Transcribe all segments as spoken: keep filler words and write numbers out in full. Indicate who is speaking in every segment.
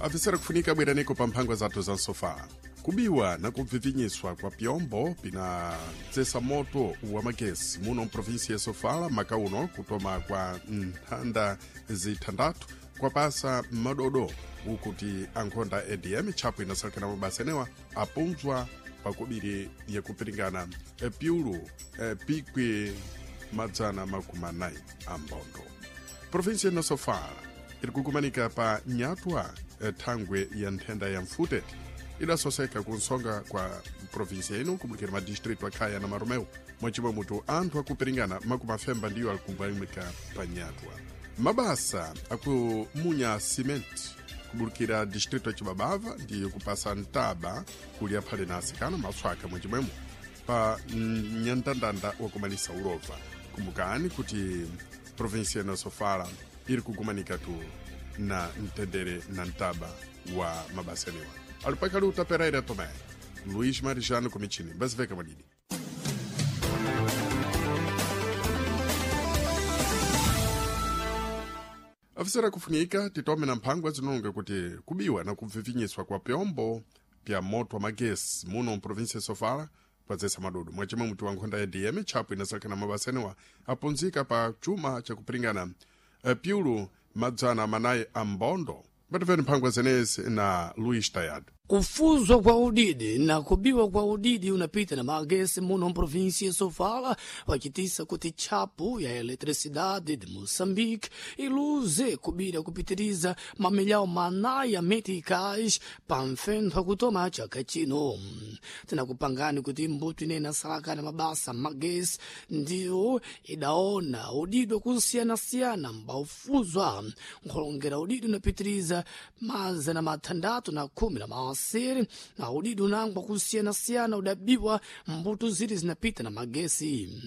Speaker 1: Afisera kufunika bweraneko pa mphangwa zathu za nsofala. Kubiwa na kubvivinyiswa kwa pyombo pinadzesa moto wa magesi muno mprovinsi ya Sofala maka uno kutoma kwa nthanda zithandathu kwapasa madodo ukuti ankhonda A D M tchapo inasalekana mabasa enewa apunzwa pakubiri yakupiringana piulu pikwi madzana makumi anayi a mbondo. Provinsi ya Sofala iri kukumanika pa nyatwa thangwe ya nthenda ya mfutete idasoseka kunsonga kwa provinsi ino kubulikira madistritu akhaya na Maromeu mwachimwe mutu anthu akupiringana makumi afemba ndiyo alikubalimika pa nyatwa. Mabasa akumunya simenti kubulikira distritu ya Chibabava ndiyo kupasa ntaba kuli aphale na asikana maswaka mwachimwemo pa nyandandanda wakumanisa ulova. Kumbukani kuti provinsi ya Sofala iri kukumanika tu na mtendere na ntaba wa mabasa enewa. Alipakali utaperaira Tomé Luís Marijano Comitini basiveka madidi. Afisera kufunika titome na mphangwa zinonga kuti kubiwa na kubvivinyiswa kwa pyombo pya moto wa magesi muno mprovinsi ya Sofala kwadzesa madodo mwachimwe mutu wa nkhonda ya D M tchapo inasalekana mabasa enewa apunzika pa chuma chakupiringana piulu madzana manayi a mbondo. Bativeni mphangwa zenezi na Luís Tayado.
Speaker 2: Kufuzwa kwa udidi na kubiwa kwa udidi unapita na magesi muno mprovinsi ya Sofala wachitisa kuti tchapu ya eletricidade de Moçambique iluze kubira kupitiriza mamilhau manayi ya meticais pa mfentho akutoma chaka chino. Tinakupangani kuti mbuto ine inasalakana mabasa magesi ndiyo idaona udidi wakusiyana-siyana mbaufuzwa nkholongera udidi unapitiriza mazana mathandatu na khumi na masiri na udidi unangwa kusiyana-siyana udabiwa mbuto ziri zinapita na magesi.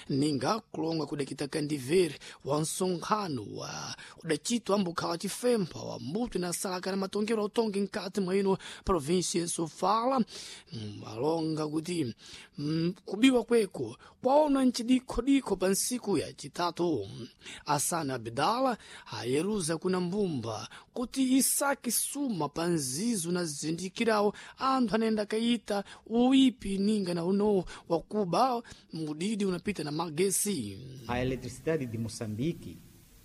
Speaker 2: Ninga kulonga kudakita kandivere wa nsonkhano wa udachitwa ambukhala chifempha wa mbuto inasalaka na matongero autongi mkati mwa ino provinsi ya Sofala alonga kuti mm, kubiwa kweko kwaona nchidikhodikho pa nsiku ya chitatu. Asana Abdala ayeruza kuna mbumba kuti isaki suma pa nzizo na zindikirawo anthu anayenda kayita uipi ninga na uno wakuba mudidi unapita na magesi.
Speaker 3: A eletricidade de Moçambique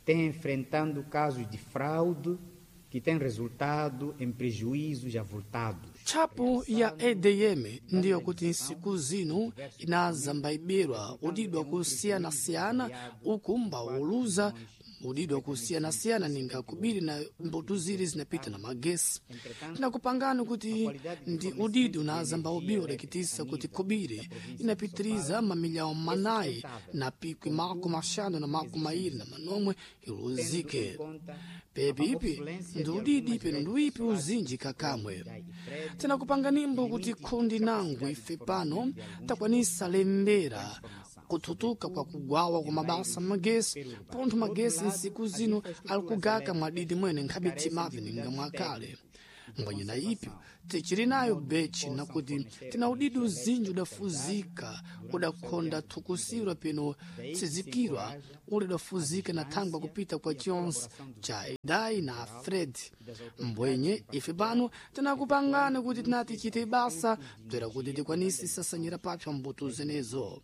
Speaker 3: tem enfrentando casos de fraude que têm resultado em prejuízos avultados.
Speaker 2: Tchapo ya A D M ndiyo kuti nsiku zino inazambaibirwa udidi wakusiyana-siyana uku mbauluza udidi wakusiyana-siyana ninga kubiri na mbuto ziri zinapita na magesi. Tinakupangani kuti ndi udidi unazamba ubiwa udakitisa kuti kubiri inapitiriza mamilhau manayi na pikwi makumi axanu na makumi mairi na manomwe iluzike. Pepipi ndi udidi peno ndi uipi uzinji kakamwe. Tinakupanga nimbo kuti khundi nangu ife pano takwanisa lembera kuthutuka kwa kugwawa kwa mabasa magesi pontho magesi nsiku zino alikugaka mwadidi mwene nkhabe timavi ninga mwakale. Mbwanyina ipyo tichiri nayo bechi nakuti tina udidi uzinji udafuzika udakhonda thukusirwa peno tsizikirwa uli udafuzika na thangwa kupita kwa chionse cha Idai na Fred. Mbwenye ife pano tinakupangani kuti tinati tichite basa bzera kuti tikwanise sasanyira papsa mbuto zenezo.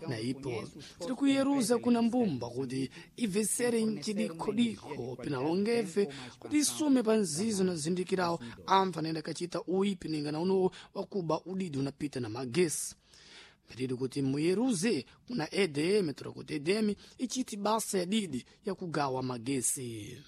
Speaker 2: Na ipo tiri kuyeruza kuna mbumba kuti ibvesere mchidikhodikho pinalongefe kuti isume pa nzizo na zindikirawo anthu anayenda kachita uipi ninga na unowo wakuba udidi unapita na magesi. Pedido kuti muyeruze kuna A D M tora kuti A D M ichiti basa ya didi yakugawa magesi.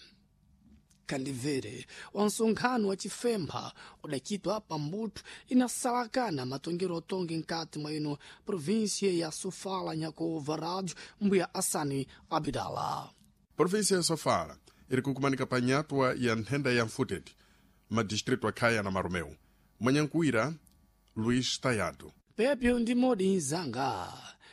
Speaker 2: Kandivere wa nsonkhano wa chifempha udachitwa pa mbuto inasalakana matongero otongi nkati mwa ino província ya Sofala nyakova rádio mbuya Asani Abdala.
Speaker 1: Província ya Sofala iri kukumanika pa nyatwa ya nthenda ya mfutete madistritu akhaya na Maromeu. Mwanyankuwira Luís Tayado.
Speaker 2: Pepyo ndi modi nzanga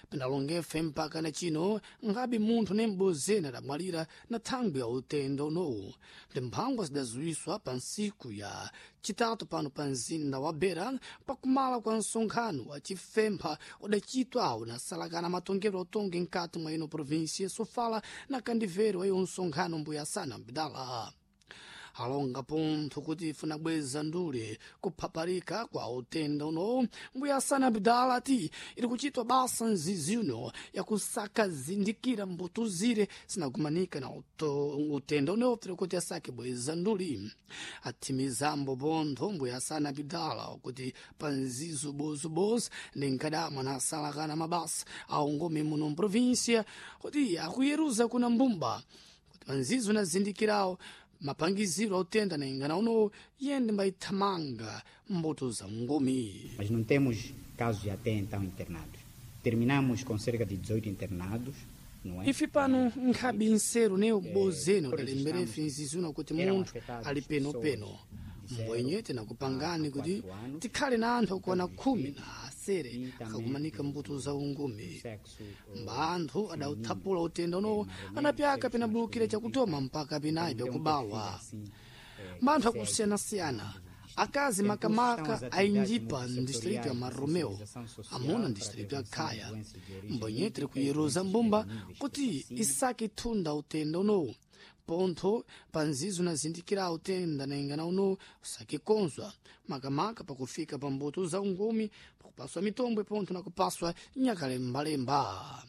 Speaker 2: pinalongefe mpaka na chino ngabe munthu nembozena adamwalira na thangwi ya utenda unowu. Ndi mphangwa zidazuwiswa pa nsiku ya chitatu pano pa mzinda wa Beira pakumala kwa nsonkhano wa chifempha udachitwa unasalakana matongero otongi nkati mwa ino província ya Sofala na kandivero wa iwo nsonkhano mbuya Asana Abdala. Alonga pontho kuti ifuna bweza ndule kuphaparika kwa utenda uno. Mbuya Hassan Abdala ati iri kuchitwa basa nzizi uno yakusaka zindikira mbuto zire zinagumanika na uto, utenda uno tiri kuti asake bweza nduli. Atimizambo pontho mbuya Hassan Abdala kuti pa nzizo bozobozo ndi nkadamwa na asalakana mabasa aungome muno mprovinsia kuti akuyeruza kuna mbumba kuti panzizo nazindikirawo mapangiziro autenda na ingana uno yende mbaithamanga mbuto za ngumi.
Speaker 3: Mas não temos casos de até então internados. Terminamos com cerca de dezoito internados, não é?
Speaker 2: Ife pano nkhabi nseru ne ubozeno dalemberefe nzizuna kuti munthu ali penopeno mbwenye tinakupangani kuti tikhale na anthu okwana khumi na asere akakumanika mbuto za ungumi. Mba anthu adauthapula utenda unowo anapyaka penabulukira chakutoma mpaka pinayi pyakubawa. Mba anthu akusiyanasiyana akazi makamaka ainjipa ndistrito ya Marromeu, amuna ndistrito ya Khaya. Mbwenye tiri kuyeruza mbumba kuti isake thunda utenda unowu pontho panzizo nazindikira utenda naingana uno usakikonzwa makamaka pakufika pa mbuto za ungumi pakupaswa mitombwe pontho nakupaswa nyakalembalemba.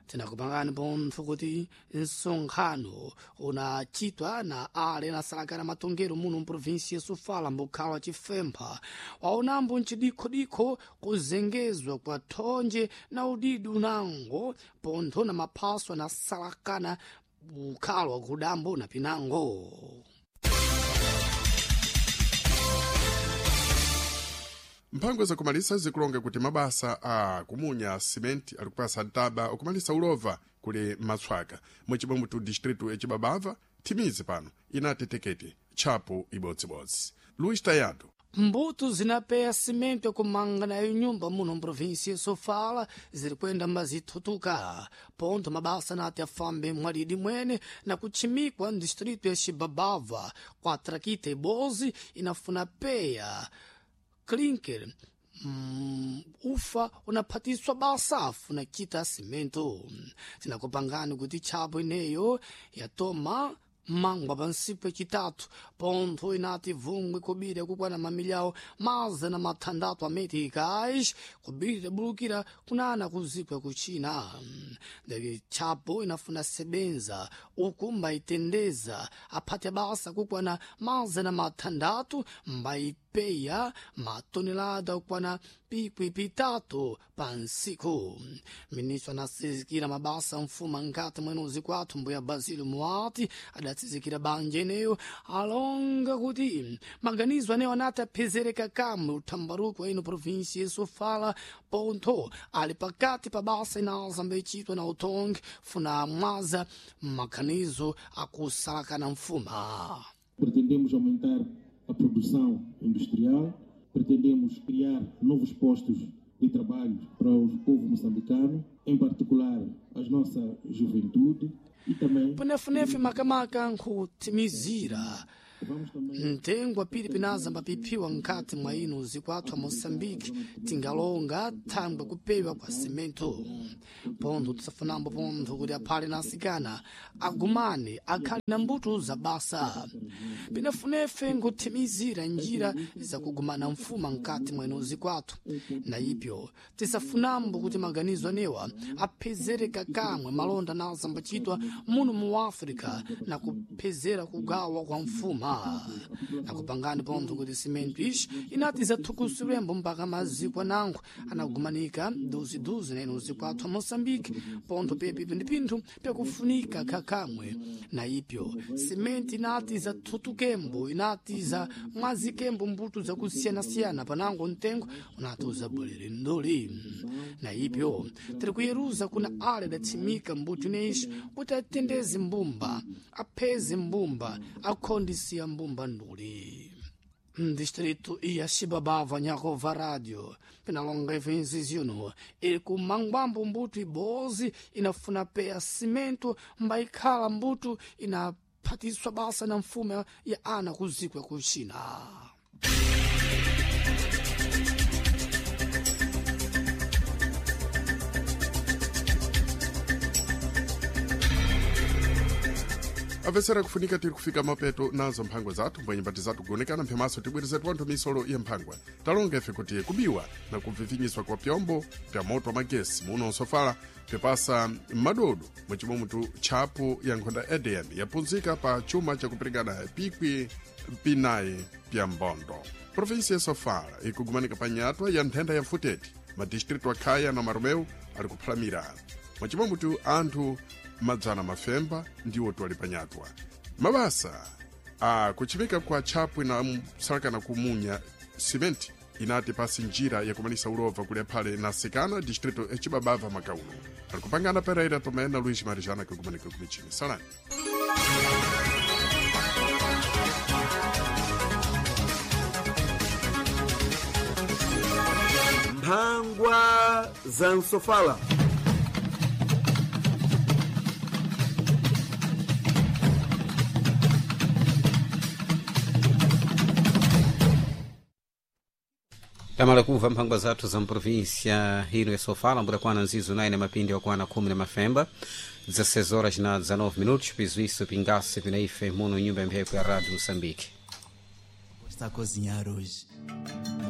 Speaker 2: Tinakupangani pontho kuti msonkhano unachitwa na ale nasalakana matongero muno mprovinsi ya Sofala mbukhala wa Chifempha waonambo mchidikhodikho kuzengezwa kwa thonje na udidi unango pontho na maphaso anasalakana ukhalo wa kudambo na pinango.
Speaker 1: Mphango zakumalisa zikulonga kuti mabasa a kumunya simenti ali kupasa ntaba okumalisa ulova kuli matswaka muchibomwe tu distritu ecibabava thimizi pano inatetekete tchapo ibodzibodzi. Luís Tayado.
Speaker 2: Mbuto zinapeya simento yakumanga nayo nyumba muno mprovinsia ya Sofala ziri kwenda mbazithutuka pontho mabasa nati afambe mwalidi mwene na kutchimikwa ndistrito ya Xibabava kwa trakita ibozi inafuna peya clinker mm, ufa unaphatiswa basa afuna kita simento. Tinakupangani kuti tchapo ineyo yatoma mangwa pansipo yacitatu pontho inati vungwe kubira kukwana mamilyawo mazana mathandatu ameticais kubira bulukira kunana kuzikwa kuchina. Ndeke tchapo inafuna sebenza uku mbayitendeza aphate basa kukwana mazana mathandatu mbayipeya matonelada kukwana pikwi pitatu pa nsiku. Ministro anasizikira mabasa mfuma nkati mwene uziku athu mbuya Basílio Muati adatsizikira banja ineyo alonga kuti maganizo anewo anati aphezereka kamwe uthambaruko wa ino provinsia ya Sofala pontho ali pakati pa basa inaza mbechitwa na utongi funa mwaza maganizo akusalakana mfuma.
Speaker 4: Pretendemos aumentar a produção industrial, pretendemos criar novos postos de trabalho para o povo moçambicano, em particular a nossa juventude e também
Speaker 2: Punefunefe makamaka nkhutimizira
Speaker 4: vamos também
Speaker 2: mtengo apiri pinaza mbapiphiwa nkati mwa ino usiku athu a Moçambique tingalonga thangwe kupewa kwa simento pontho tisafunambo pontho kuti aphale na asikana agumane akhale na mbuto za basa. Pinafunefe nkuthimizira njira zakugumana mfuma nkati mwa ino usiku athu na ipyo tisafunambo kuti maganizo anewa aphezereka kamwe malonda naza mbachitwa muno mu África na kuphezera kugawa kwa mfuma. Nakupangani pontho kuti simento ixi inati zathukusiwembo mpaka maziko anango anagumanika duziduzi na ino usiku athu a Moçambique pontho pepi ndi pinthu pyakufunika khakamwe na ipyo simenti inati zathutukembo inati za mwazikembo mbuto zakusiyanasiyana panango mtengo unati uzabwerere nduli na ipyo tiri kuyeruza kuna ale adatsimika mbuto ineixi kuti atendeze mbumba apheze mbumba akhondisiya mbumba nduli. Distrito ya Xibabava Nyakova Rádio pinalonga ivinziziuno ili kumangwambo mbuto ibozi inafuna peya simento mbaikhala mbuto inaphatiswa basa na mfumo ya ana kuzikwa kuchina.
Speaker 1: Apesera kufunika tiri kufika mapeto nazo mphangwa zathu mbwenye mbati zathu kuonekana mphemaso tibwereze twanthu misolo ya mphangwa. Talonga ife kuti kubiwa na kuvivinyiswa kwa pyombo pya moto wa magesi muno nsofala pyapasa madodo mwachimwemutu tchapu ya nkhonda E D M yapunzika pa chuma chakuperekana pikwi pinayi pya mbondo. Provinsi ya Sofala ikugumanika pa nyatwa ya nthenda ya mfuteti. Madistritu akhaya na Maromeu ali kuphalamira mwachimwemutu anthu madzana mafemba ndiwo twali panyatwa. Mabasa a kuchimika kwa tchapwi na msalakana kumunya simenti inati pasi njira yakumanisa ulova kuli aphale na Sikana, distrito ecibabava makaulo ali kupangana Pereira Tomé na Luís Marijana kugumanika kumichini. Salani.
Speaker 5: Mphangwa za Nsofala.
Speaker 6: Tamala kumva mphangwa zathu za mprovíncia ino ya Sofala mbudakwana nzizo nayi mapindi wakwana khumi na mafemba, dezesseis horas na dezenove minutos. Piso isso pingase pina ife muno nyumba ya mphepo ya Rádio Moçambique.
Speaker 7: Está a cozinhar hoje.